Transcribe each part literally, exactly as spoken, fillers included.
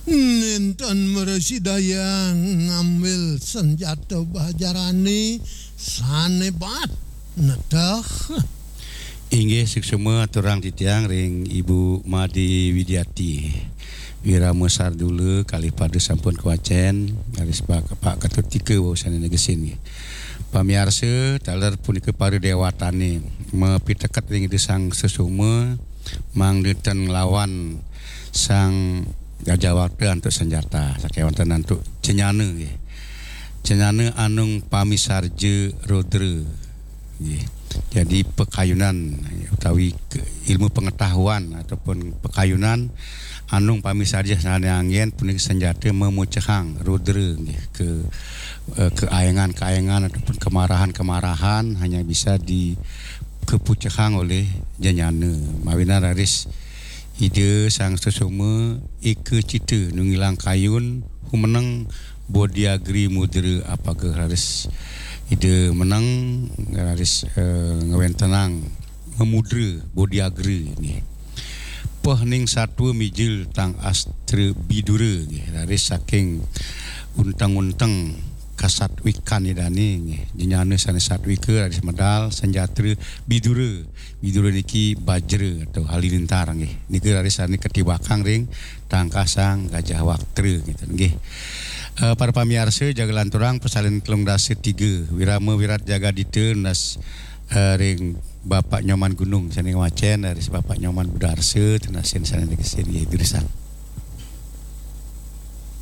Nénten mresidayang ngambil senjata bajarane sane bat neteh. Inggih, suksma aturang titiang ring Ibu Made Widiati. Wirama Sardula kalih pada sampun kawacen, raris Pak, Pak Ketut Tika wau sane negesin nggih. Pamiarsa, taler punika para dewatane mapiteket ring Ida Sang Sesoma, mangda ten nglawan Sang Gajah Wakta antuk senjata, sakewanten antuk cenyana nggih. Cenyana anung pamisarja rudra nggih. Jadi pakayunan utawi ke-, ilmu pengetahuan ataupun pakayunan anung pamisarja sane anggen punika senjata mamucehang rudra nggih, ke, eh, keayengan-keayengan ataupun kemarahan-kemarahan hanya bisa di-, kepucehang oleh cenyana. Mawinan raris Ida Sang Sesoma eka cita nunggilang kayun humeneng Bodiagri Mudra apaga raris Ida meneng raris, eh, ngwentenang ngemudra Bodiagri nggih. Peh ning satua mijil tang astra bidura nggih, raris saking unteng-unteng kasatwikan idane nggih. Cenyana sane satwika raris medal senjata bidura. Bidura niki bajra atau halilintar nggih. Nika raris sane katibakang ring tangkah Sang Gajah Waktra gitu nggih. Eh, para pamiarsa, jaga lanturang pasalin telung dasa tiga, Wirama Wirat Jagadita nas, eh, ring Bapak Nyoman Gunung sane ngwacen, raris Bapak Nyoman Budarsa tunasin sane negesin nggih, durusang.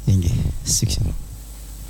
Inggih, suksma.